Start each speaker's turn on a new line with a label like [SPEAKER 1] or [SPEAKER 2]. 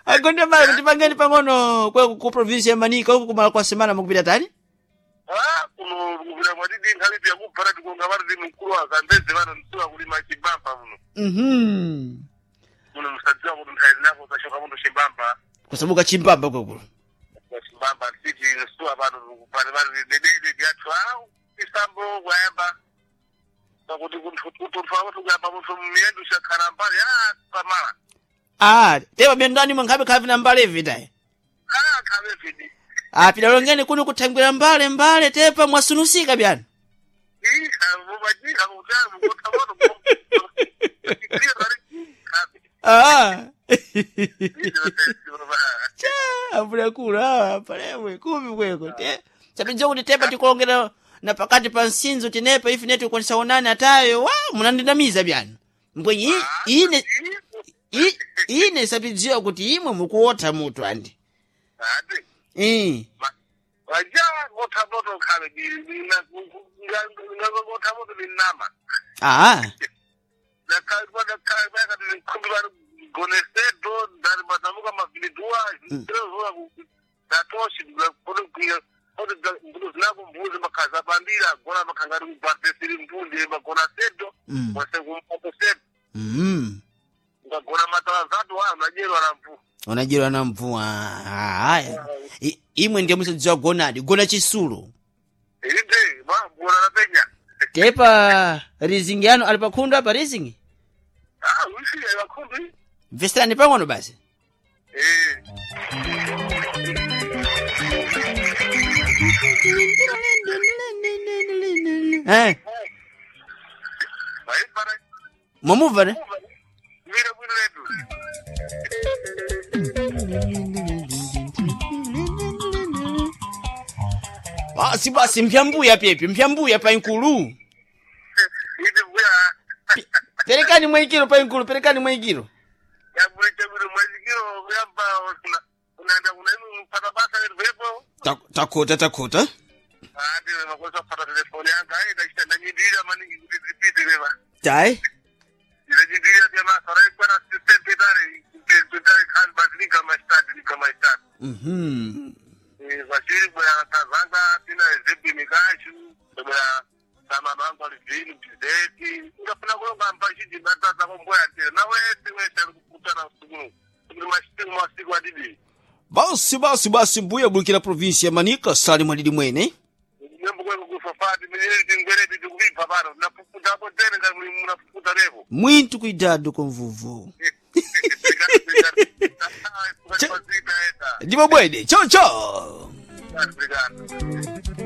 [SPEAKER 1] Agonde mbale kuti pangeni pang'ono kwe ku provinsi ya Manika huku kumala kwa semana mukupita tani?
[SPEAKER 2] Ah, kuno kuvira mwatiti nkhalipi yakubvara tikonga vari ndi mkulu wa Zambezi vano nsiwa kulima chimbamba muno.
[SPEAKER 1] Mhm.
[SPEAKER 2] Muno musadziwa kuti nthawi zinako zachoka muno chimbamba.
[SPEAKER 1] Kusabuka chimbamba kwekulu.
[SPEAKER 2] Chimbamba siti nsiwa pano kupani vari dedede vyathu ah isambo kuyamba. Pakuti kunthu akuti kuyamba munthu miyendo shakhala mbali ah pamala.
[SPEAKER 1] Ah, tepa bendani mwankhabe khavi na mbale vitayi.
[SPEAKER 2] Ah khabe vidi.
[SPEAKER 1] Ah, pidalongeni kuno kuthangwira mbale mbale tepa mwasunusika byana. Ah. Cha, ambuya ah, palewe kumi kweko. Te. Sapinjo kuti tepa tikulongera na pakati pa nsinzo tinepa ifi netu kukonesa onani atayo wa munandinamiza byana. Mbwenyi ine ine sapidziwa kuti imwe mukuotha mutu andi. Eh. Ah. Mm. Mm.
[SPEAKER 2] Ngagona matalazatu wa majerwa na mvu.
[SPEAKER 1] Unajerwa na mvua. Haya. Imwe ndiye musadziwa gonadi, gona chisulo.
[SPEAKER 2] Inde, gona napenya.
[SPEAKER 1] Tepa rizingi yanu ali pakhundu apa rizingi?
[SPEAKER 2] Ah, usi abakhundu.
[SPEAKER 1] Mveserani pang'ono basi.
[SPEAKER 2] Eh.
[SPEAKER 1] Eh,
[SPEAKER 2] Vaipara
[SPEAKER 1] mwamubva ne?
[SPEAKER 2] vira bwino letu.
[SPEAKER 1] Basi basi mpyambuya pepi, mpyambuya painkulu.
[SPEAKER 2] Inde bwa
[SPEAKER 1] Perekani mwaikiro painkulu, perekani mwaikiro.
[SPEAKER 2] yabulite bwino mwazikiro kuyamba kuna unaenda kuna inu mpata basa letu vepo.
[SPEAKER 1] Takhota takhota.
[SPEAKER 2] Ah, ndiwe makosa kupata telefoni yanga ai ndachita ndanyindira maningi kuti zipite leva.
[SPEAKER 1] Tai.
[SPEAKER 2] Ndanyindira pya masa rai kwa system petare petare kan basi mastadi nika mastadi.
[SPEAKER 1] Mhm.
[SPEAKER 2] Vachiri bwa tazanga tina zebi mikashu bwa sama bangu alivini mtizeti ngafuna kulonga mpachiji batata komboya tena na wese wese alikukutana usiku kuti masiku masiku adidi
[SPEAKER 1] Basi basi basi mbuya bulukira provinsi ya Manika sali mwadidi mwene.
[SPEAKER 2] nyembo kwengu kufafati minyeri tingwereti tikuvibva pano napukuta apo tene ngati muli munapukuta lepo
[SPEAKER 1] Mwintu kuidado kwa mvuvu. Ndipo bwede. Chao chao.
[SPEAKER 2] Obrigado.